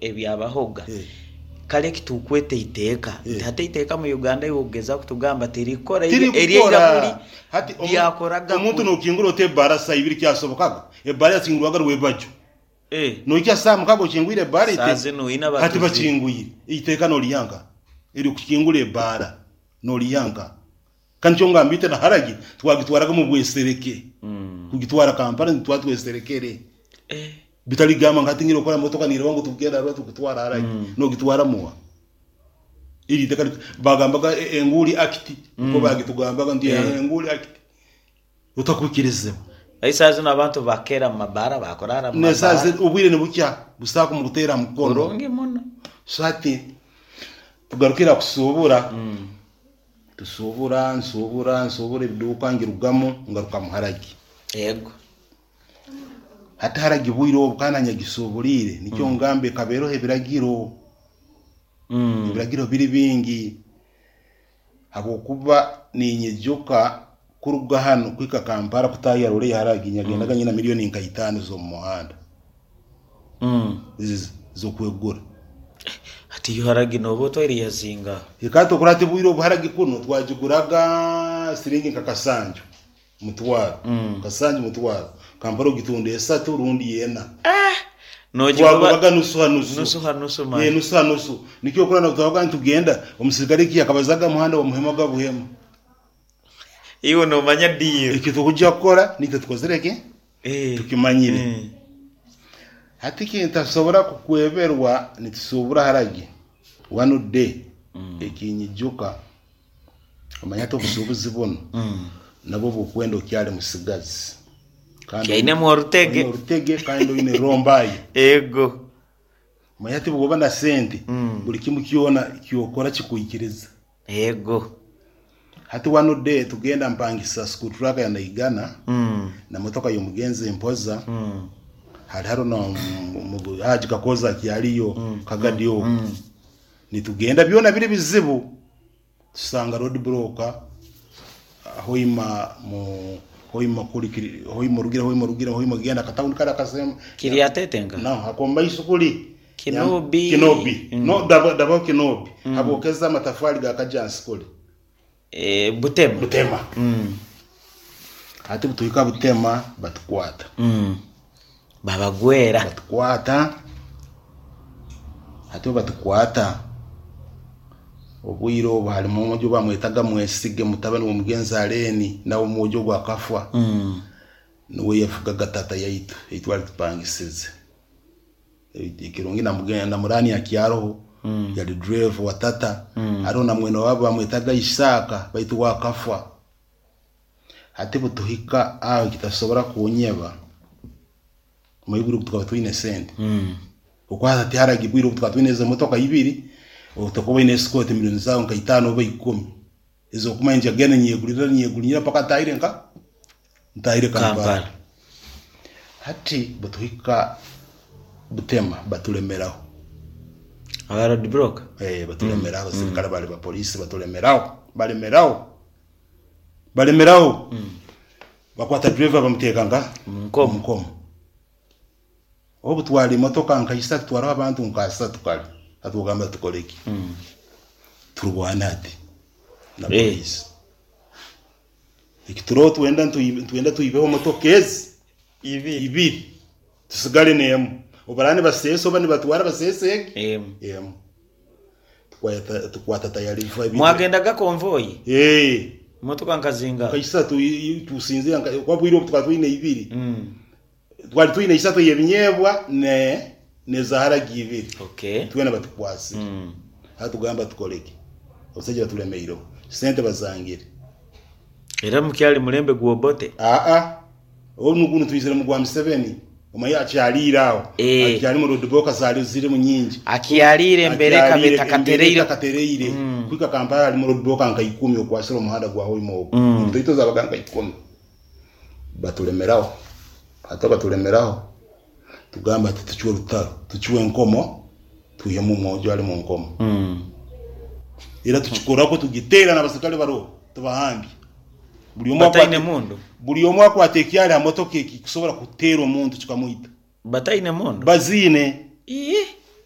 ebyabahoga. Kare eki turikweta eiteeka, nti hati eiteeka mu Uganda iwe okugezaho kutugamba tirikukora eryaira kuri ryakoraga Omuntu kuri. nokingura ota ebbaara saaha ibiri kyasobokaga? Ebbaara yakingurwaga rwebagyo. Noija saaha mukaga okingwire ebbaara Saaha zinu oine hati abatuzi. bakingwire. Eiteeka noriiha nkaha ery'okukingura ebbaara? Noriiha nkaha? Ka nikyo ngamba itwe na haragi twagitwaraga omu bwesereke. Kugitwara Kampala nitutwara tweserekere. Bitari kugamba ngu hati nyine kukora motoka neereba ngu tugenda Arua tukutwara haragi. Nogitwara muha? Eri iteka bagambaga Enguuli Act nikwo bagitugambaga nti Enguuli Act otakwikirizibwa. Esaaha zinu abantu bakeera mu mabaara bakuraara mu N'esaaha mabaara. zinu obwire nibukya busaako mukuteera aha mukono. Kurungi muno. So hati tugarukire aha kusuubura. Tusuubura, nsuubura, nsuubura ebiduuka ngirugamu ngaruka mu haragi. Yego. Hati haragi bwire obu kandi nanyagisuuburiire nikyo ngamba ekaba eroho ebiragiro. Ebiragiro biri bingi habwokuba ninyijuka kuruga hanu kuhika Kampala kutaaha rore ya haragi nyagendaga nyina milioni nka itaano z'omu muhanda z'okwegura. Hati yo haragi nooba otwaire yazinga? Eka tokora hati bwire obu haragi kunu twagiguraga siringi nka kasanju mutwaro, kasanju mutwaro, Kampala ogitunda esatu rundi ena. Twagobaga nusu ha nusu. Nusu ha nusu Ee, mani. nusu ha nusu. Nikyo okurora ngu twabaga nitugenda, omusirikare eki yakabazaga muhanda wamuhemaga buhema. Iwe nomanya deal. Eki turikujya kukora nitwe tukozire ki? Tukimanyire. Hati ekintasobora kukweberwa nitusuubura haragi one day ekinyijuka omanye hati obusuubuzi bunu nabwo bukwenda okyali musigazi kandi Oinemu orutege. Oine orutege kandi oine rombaye. Ego. Omanye hati bwoba na sente buri kimwe kyona kyokora kikwikiriza. Ego. Hati one day tugenda mpangisa school truck ya Naigana na motoka y'omugenzi Mpoza hari haro na Haji Kakoza akyariyo Kagadi ogu nitugenda byona biri bizibu tusanga road block Hoima mu Hoima kuri Hoima orugire Hoima orugire Hoima ogenda akatawuni kari akasemba Kiryatete nka? No ak'omu maiso kuri Kinobi. Kinobi. No dabaho Kinobi. Habwokeza amatafari ga Kajansi kuri. Butema. Butema. Hati butuhika Butema batukwata. Babagwera. Batukwata. Hati obu batukwata, obwire obu harimu omwojo bamwetaga Mwesige mutabani w'omugenzi Aleni nawe omwojo ogu akafwa. Nuwe yafugaga tata yaitu ei twali tupangisize. Ekirungi na Murani akyaroho yali driver wa tata. Haroho na mwene wabu bamwetaga Isaaka baitu we akafwa. Hati butuhika aho ekitasobora kunyeba, omanye obwire obu tukaba twine sente. Okwata tiharagi bwire obu tukaba twine ezo motoka ibiri, otakuba oine esikooti milioni zaawe nka itaano oba ikumi ez'okumanya nti agenda ninyegurira ninyegurira mpaka ntahire nka Ntahire Kampala. Kampala. Hati butuhika Butema batulemeraho. Aba road block? Eh, batulemeraho abasirikare bali ba polisi batulemeraho, balemeraho. Balemeraho. Bakwata driver bamuteeka nka Omu nkomo. omu nkomo. Obu twara emotoka nka isatu twaraho abantu nka asatu kare atugamba tukore ki? Turwane hati na Eh. polisi. Eki turiho twenda nitwenda twibeho motoka ezi ibiri tusigare n'emwe. Obu baraba nibaseesa oba nibatwara baseese egi Emwe. emwe. Tukwata tukwata tayarifa ibiri. Mwagendaga konvoyi? Ee. Motoka nka zingaha? Nka isatu tusinzira nka kuba bwire obu tukaba twine ibiri. Twali twine isatu ey'ebinyeebwa ne n'eza haragi ibiri. Okay. Twena batukwasire. Hati tugamba tukore ki? Abasaija batulemeireho. Sente bazangire. Era mukyali mulembe gwa Obote? Aa. Obu gunu twizire mu gwa Museveni. Omanye akyaliire aho. Eh. Akyalimu roadblock zali zirimu nyingi. Akyaliire embera ekaba Akyaliire embera etakatereire. etakatereire. Kuhika Kampala halimu roadblock nka ikumi okwasire omuhanda gwa Hoima ogu. Enguudo zabaga nka ikumi. Batulemeraho. Hati batulemeraho, tugamba ati tucwe orutaro, tucwe enkomo, twihemu omwojo ari omu nkomo. Era tukikoraku tugiteera n'abaserikare baroho tubahambya. Buri omwe Bataine akwata mundu? buri omwe akwata ekyari ha motoka eki kusobora kuteera omuntu kikamwita. Bataine mundu? Baziine. Ii.